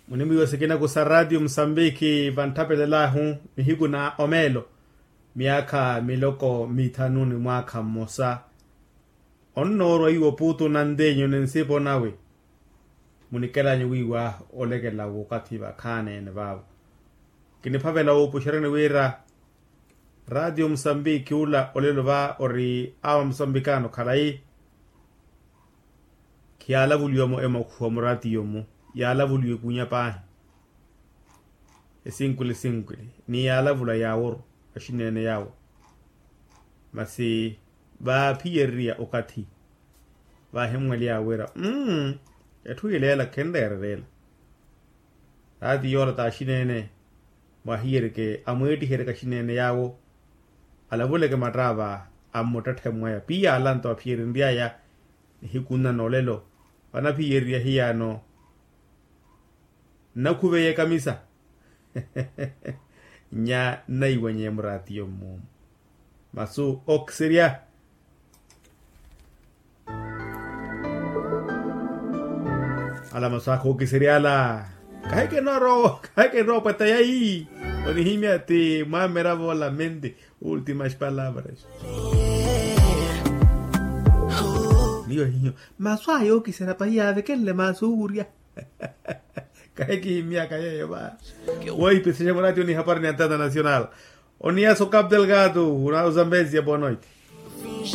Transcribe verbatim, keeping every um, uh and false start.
Munimwiiwa sikinaku sa ratio musambiki vantthapelelahu, nihiku na omeelo myaakha miloko mithanu ni mwaakha mmosa. Onnoorwa iwo puutu na nteenyu ni nsipo nawe. Munikelanyu wiiwa olekela w'okathi vakhaani-ene vaavo. Kiniphavela wuupuxeryani wira ratio musambiki ula olelo va ori awa musambikaano khalayi. Khiyaalavuliwa-mo emakhuwa muraatiyo-mu, yaalavuliwa ekunya paahi. Esinkwili sinkwili ni yaalavula yaaworu axineene yaawo. Masi vaaphiyereriya okathi vaahimmwely'awe wira mmm etthu yila ela khenreererela. Taati yoola t'axineene mwahiyerike amweettiheryeke axineene yaawo. Alavuleke mattaava ammuttetthe mwaya piya alanto aphiyereriyaya. Nihiku nna n'olelo vanaphiyereriya hiyaano. Nnakhuveye kamisa nya nnaiwanye muraatiyo mmuumu. Masu okiserya. Ala masu akha okiserya ala. Kahikenoorowa kahikenoorowa pweta yayi. Onihimya ti mwameravo ola mente. Ultimas palavras. Miyo hiyo masu aya okiserya pahi yaavekenle masu owurya. Kahikihimmyaka yeeyo va. Woipisexa muraatiyo ni hapari ni antena nacional. Oniyaso cap delgado na uzambezia boa noite.